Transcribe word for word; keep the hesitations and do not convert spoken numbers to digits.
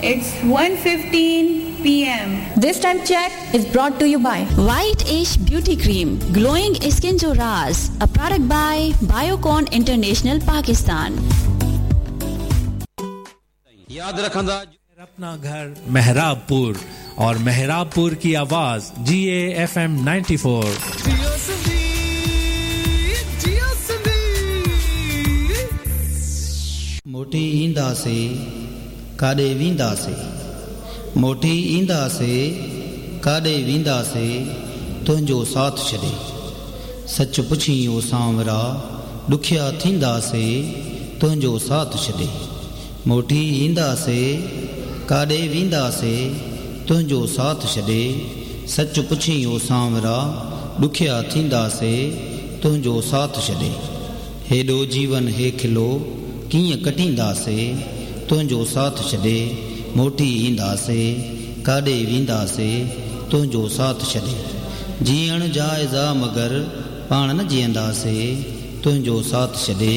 It's one fifteen p m. This time check is brought to you by White Ash Beauty Cream, glowing skin जो राज, a product by Biocon International Pakistan. याद रखंदा अपना घर मेहराबपुर और मेहराबपुर की आवाज G A F M ninety-four. मोटी ईंदासे काॾे वेंदासे, मोटी ईंदासे काॾे वेंदासे, तुंहिंजो साथ छॾे। सच पुछी ओ सांवरा ॾुखिया थींदासे, तुंहिंजो साथ छॾे। मोटी ईंदासे काॾे वेंदासे, तुंहिंजो साथ छॾे। सच पुछी ओ सांवरा ॾुखिया थींदासे, तुंहिंजो साथ छॾे। हेॾो जीवन हे खिलो कीअं कटींदासे, तुंहिंजो साथ छॾे। मोटी ईंदासे काॾे वेंदासे, तुंहिंजो साथ छॾे। जीअण जाइज़ा मगर पाण न जीअंदासे, तुंहिंजो साथ छॾे।